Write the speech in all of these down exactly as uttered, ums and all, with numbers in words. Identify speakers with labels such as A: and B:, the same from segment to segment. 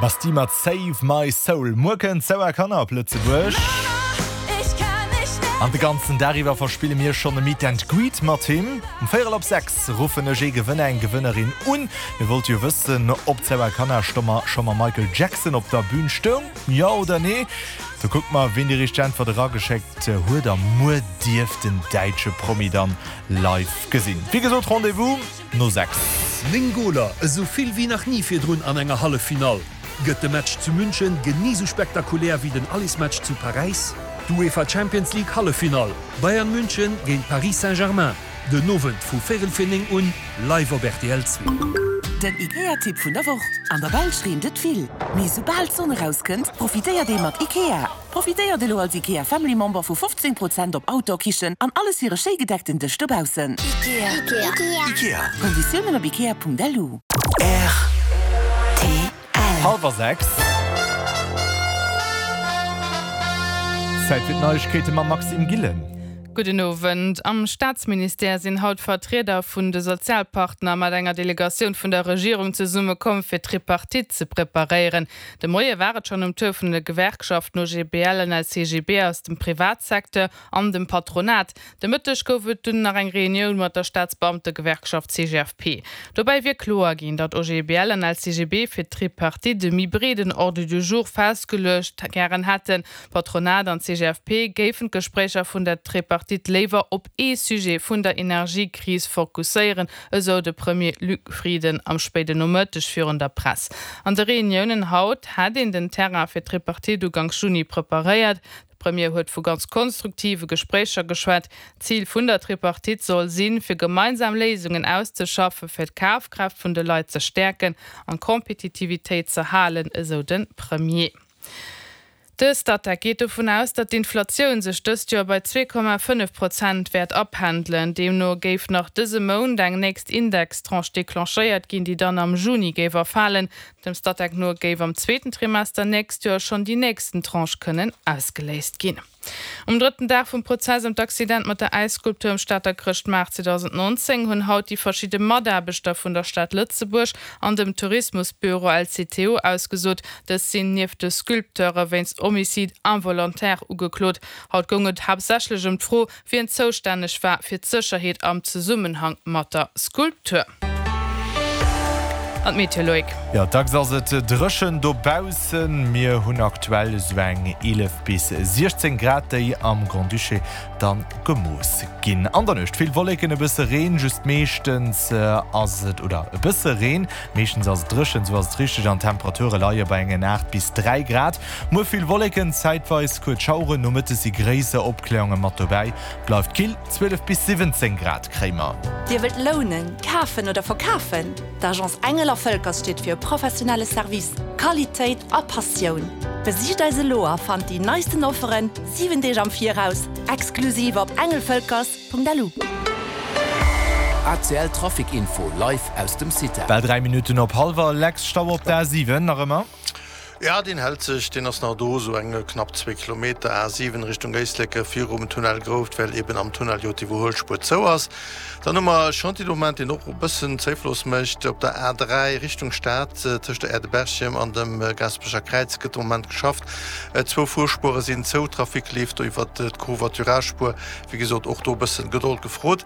A: Bastille mat Save My Soul. Muer kënnt Sawa Kanner op Lëtzebuerg. An de ganzen Dag iwwer verspille mir schonn e Meet and Greet mat him. Um véierel op sechs ruffen ech ee Gewënner, eng Gewënnerin un. Mir wollte jo wëssen, ob d'Sau a Kanner scho mam Michael Jackson op der Bün stoung, jo oder nee? Da kucke mer, wien déi richteg Äntwert erageschéckt huet a muer dierf den däitsche Promi dann live gesinn. Wéi gesot, Rendez-vous no sechs.
B: Néng Goler, esou vill wéi nach ni virdrun an enger Halleffinall. Gëtt de Match zu München genee sou spektakulär wéi den Allesmatch zu Paräis? D'UEFA Champions League Halleffinall, Bayern München géint Paris Saint-Germain, den Owend vu véierel vir néng un, live op rtl zwee.
C: Den IKEA-Tipp vun der Woch, An der Belsch reent et vill, mee soubal d'Sonn erauskënnt, profitéiert ee mat IKEA. Profitéiert elo als IKEA Family Member vu fofzéng Prozent op Outdoor-Kichen an alles fir e schéi gedeckten Dësch dobaussen.
D: Ikea.
C: Ikea. Konditiounen op ikea.lu.
D: Rtl.
A: Hallwer sechs. Zäit fir d'Neiegkeete mam Maxime Gillen.
E: Gudden Owend. Am Staatsministère sinn haut Vertrieder vun de Sozialpartner mat enger Delegatioun vun der Regierung zesummekomm, fir d'Tripartite ze preparéieren. De Moie war et schonn um Tour vun de Gewerkschaften O G B L an L C G B aus dem Privatsecteur an dem Patronat. De Mëtteg gouf et dunn nach eng Reunioun mat der Staatsbeamtegewerkschaft C G F P. Dobäi wier kloer ginn, datt O G B L an L C G B fir d'Tripartite e méi breeden Ordre du jour festgeluecht gären hätten. Patronat an C G F P géifen d'Gespréicher vun der Tripartite léiwer op ee Sujet vun der Energiekris fokusséieren, esou de Premier Luc Frieden am spéiden Nomëtteg virun der Press. An de Reuniounen haut hätt een den Terrain fir d'Tripartite Uganks Juni preparéiert. De Premier huet vu ganz konstruktive Gespréicher geschwat. Zil vun der Tripartite soll sinn, fir gemeinsam Léisungen auszeschaffen, fir d'Kafkraaft vun de Leit ze stäerken an d'Kompetitivitéit ze halen, esou de Premier. De Statec geet dovun aus, datt d'Inflatioun sech dëst Joer bei zwee Komma fënnef Prozent wäert apendelen. Deemno géif nach dëse Mount eng nächst Indextranche declenchéiert ginn, déi dann am Juni géif erfalen. Dem Statec no géif am zweeten Trimester nächst Joer schonn déi nächsten Tranche kënnen ausgeléist ginn. Um drëtten Dag vum Prozess ëm d'Accident mat der Äisskulptur um Stater Chrëschtmaart zweedausendnonzéng hunn haut déi verschidde Mataarbechter vun der Stad Lëtzebuerg an dem Tourismusbüro L C T O ausgesot. Dës sinn nieft de Sculpteure wéinst Homicide involontaire ugeklot. Haut goung et haaptsächlech ëm d'Fro, wien zoustänneg war fir d'Sécherheet am Zesummenhang mat der Skulptur. An d'Meteo, Loïc.
A: Jo, dacks ass et dréchen dobaussen. Mir hunn aktuell esou eng eelef bis siechzéng Grad, déi am Grand-Duché dann gemooss ginn. An der Nuecht vill Wolleken, e bësse Reen, just meeschtens ass et, oder e bësse Reen, meeschtens ass et dréchen, sou ass et richteg, an d'Temperature leie bei engen aacht bis dräi Grad. Muer vill Wolleken, zäitweis kuerz Schaueren, nomëttes si gréisser Opkläerunge mat dobäi. Bleift kill, zwielef bis siwwenzéng Grad kréie mer.
F: Dir wëllt lounen, kafen oder verkafen? D'Agence Engel a Völkers steet fir professionelle Service, Qualitéit a Passioun. Besicht eis elo a fannt déi neisten Offeren siwen Deeg am Viraus, exklusiv op engelvölkers Punkt L U.
G: A C L Trafic Info live aus dem CITA.
A: Bal dräi Minutten op hallwer, Lex, Stau op der A siwen nach ëmmer?
H: Ja, deen hält sech, deen ass nach do, sou eng knapp zwee Kilometer A siwen Richtung Éislek virum Tunnel Grouft, well eben am Tunnel jo d'Iwwerhuelspuer zou ass. Dann hu mer e Chantier de Moment, deen och e bëssen Zéifloss mécht op der A dräi Richtung Stad, tëscht der Aire de Berchem an dem Gaasperecher Kräiz gëtt de Moment geschafft. Zwou Fuerspuere sinn zou, Trafic leeft do iwwert d'Covoiturage-Spuer. Wéi gesot, och do e bëssen Gedold gefrot.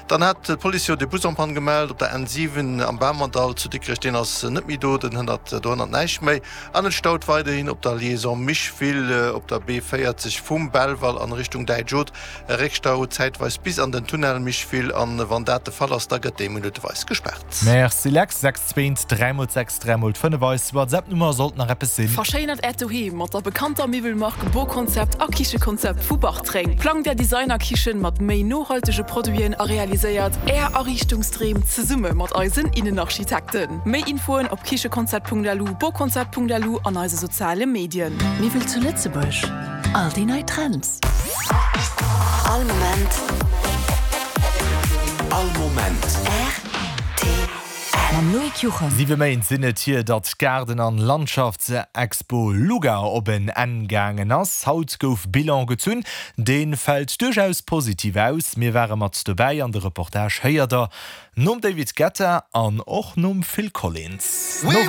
H: Dann hat d'Police jo de Bus en panne gemellt op der N siwen am Bamerdall zu Dikrech. Deen ass net méi do, den hënnert do hënnert näischt méi. An et staut weiderhin op der Liaison Micheville op der B véierzeg vum Belval an Richtung Däitsch Haut. E Réckstau zäitweis bis an den Tunnel Micheville an wann dat de Fall ass, da gëtt dee minutteweis gespaart.
A: Merci Lex. Sechs zweent dräi mol sechs dräi mol fënnef eis WhatsApp-Nummer sollt nach eppes sinn.
I: Verschéinert Äert Doheem mat der bekannter Miwwelmark Boconcept a Kichekonzept vu Bartreng. Plangt Är Designer-Kichen mat méi nohaltege Produiten a realiséiert Är Ariichtungsdreem zesumme mat eisen Innenarchitekten. Méi Infoen op kichekonzept Punkt L U, boconcept Punkt L U an eise soziale Medien.
C: Miwwel zu Lëtzebuerg, all déi nei Trends.
D: All Moment.
G: All Moment.
D: R T L.
C: Mam Loïc Juchem.
A: Siwe Méint sinn et hier, datt d'Gaarden an Landschaftsexpo Luga op en Enn gaangen ass. Haut gouf Bilan gezunn. Dee fält duerchaus positiv aus. Mir ware mat dobäi an de Reportage héiert der nom David Guetta an och nom Phil Collins.